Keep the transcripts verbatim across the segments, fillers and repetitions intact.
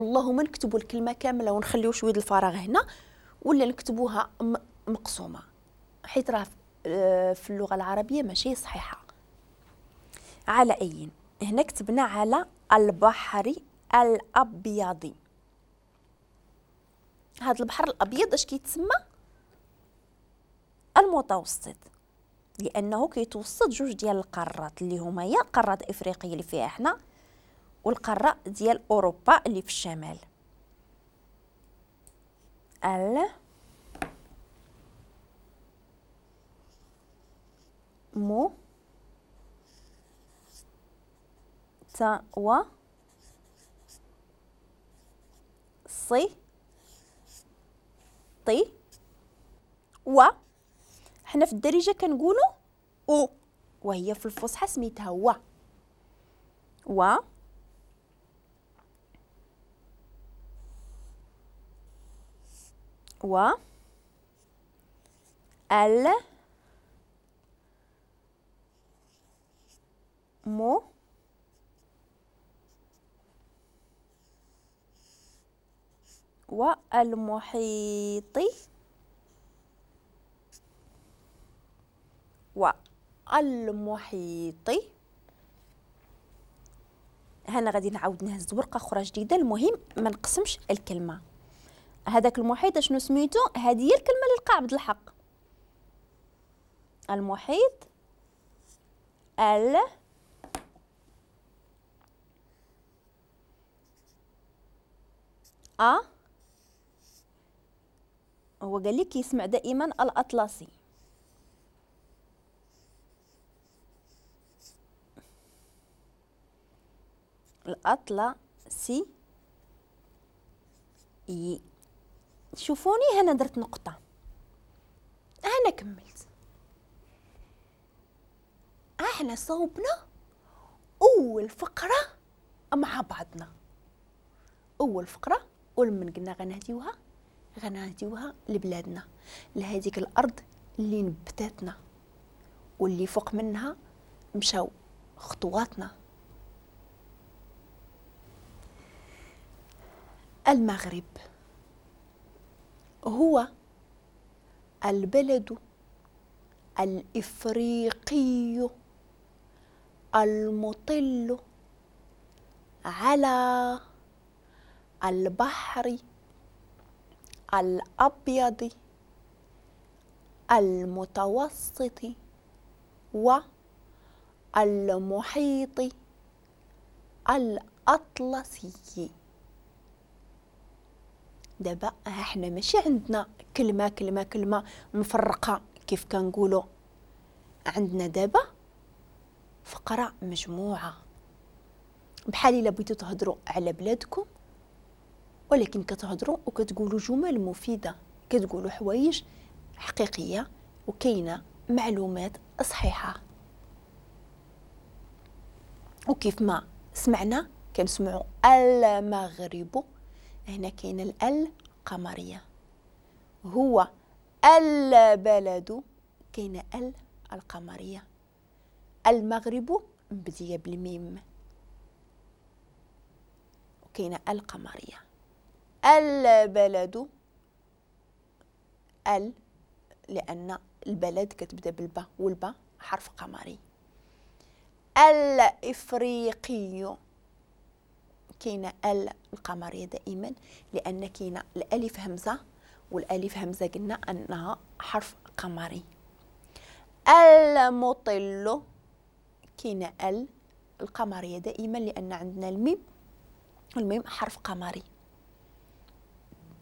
اللهم نكتبوا الكلمة كاملة ونخليو شوية الفراغ هنا، ولا نكتبوها مقسومة، حيت راه في اللغة العربية ماشي صحيحه. على اي هنا كتبنا على البحر الابيض. هذا البحر الابيض اش كيتسمى؟ المتوسط، لانه كيتوسط جوج ديال القارات اللي هما هي قارة افريقيا اللي فيها حنا، والقاره ديال اوروبا اللي في الشمال. ال مو تا و صي طي و. حنا في الدارجة كنقولوا او، وهي في الفصحى سميتها و. و و ال مو والمحيط والمحيط. هنا غادي نعاود نهز ورقة اخرى جديدة، المهم ما نقسمش الكلمة. هذاك المحيط شنو سميتو؟ هذه هي الكلمة اللي لقى عبد الحق. المحيط ال أ، هو قال لك كيسمع دائما الأطلسي. الأطلسي. شوفوني هنا درت نقطة، هنا كملت. احنا صوبنا أول فقرة مع بعضنا، أول فقرة، ولمن قلنا غنهديوها غنهديوها لبلادنا، لهذيك الأرض اللي نبتاتنا واللي فوق منها مشاو خطواتنا. المغرب هو البلد الإفريقي المطل على البحر الأبيض المتوسط والمحيط الأطلسي. دابا احنا ماشي عندنا كلمة كلمة كلمة مفرقة كيف كنقولوا، عندنا دابا فقرة مجموعة. بحال الا بغيتو تهضروا على بلادكم، ولكن كتهضروا وكتقولوا جمل مفيدة، كتقولوا حوايج حقيقية وكاينة معلومات صحيحة. وكيف ما سمعنا كنسمعوا المغرب، هنا كاين الال قمرية، هو البلد كاين ال القمرية، المغرب مبدية بالميم وكاينة القمرية، البلد ال لأن البلد كتبدا بالبا والبا حرف قمري، الإفريقي كاينه ال القمريه دائما لان كاينه الالف همزه، والالف همزه قلنا انها حرف قمري. المطل كاينه ال القمريه دائما لان عندنا الميم والميم حرف قمري.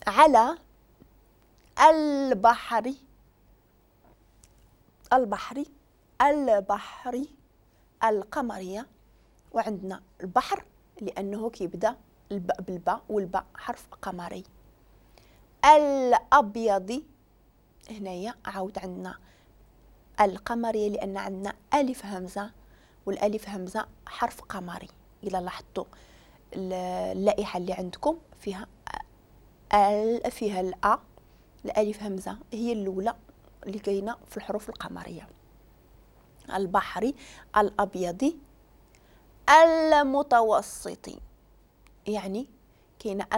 على البحر البحر البحر القمريه، وعندنا البحر لأنه كيبدأ بالباء والباء حرف قمري. الأبيض هنايا عاود عندنا القمرية لأن عندنا ألف همزة والألف همزة حرف قمري. إلا لاحظتوا اللائحة اللي عندكم فيها ال فيها الأ الألف همزة هي الأولى اللي كاينة في الحروف القمرية. البحري الأبيض المتوسطي، يعني كاينه.